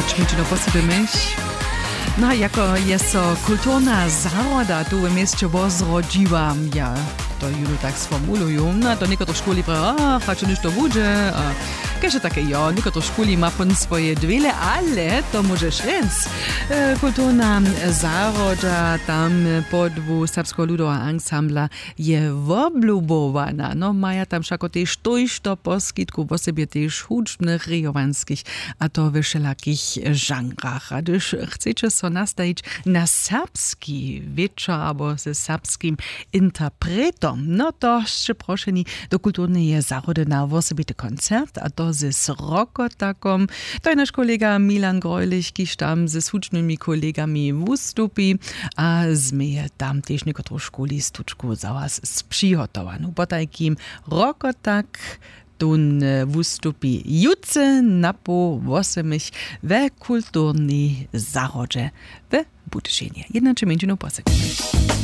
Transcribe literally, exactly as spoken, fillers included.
Čmičino posypy myš. No a jako je so kulturna zahroda tu w měsće wozrodźiła, ja to jónu tak sformuluju, no a to někotrych škuli prawa, a hač něšto budźe, a kež je take jo, někotrych škuli ma pón swoje dwěle, ale to móžeš rjec. E, kulturna zahrodźa tam podłu serbskeho ludoweho ansambla je woblubowana. No maja tam wšako tež tójšto poskitkow, wosebje tež hudźbnych rejowanskich, a to we wšelakich žanrach. A hdyž chceće so nastajić na serbski wječor abo ze serbskim interpretom, no to sće prošeni do kulturneje zahody na wosebity koncert, a to z rokotakom. To je naš kolega Milan Greulich, kiž tam z hudźbnymi kolegami wustupi, a změje tam tež někotru škuli stučku za was spřihotowanu. Potajkim rokotak tón, e, wustupi jutře napoł wosomich we kulturnej zahrodźe we Budyšinje. Jednaće mjeńšinow posekujemy.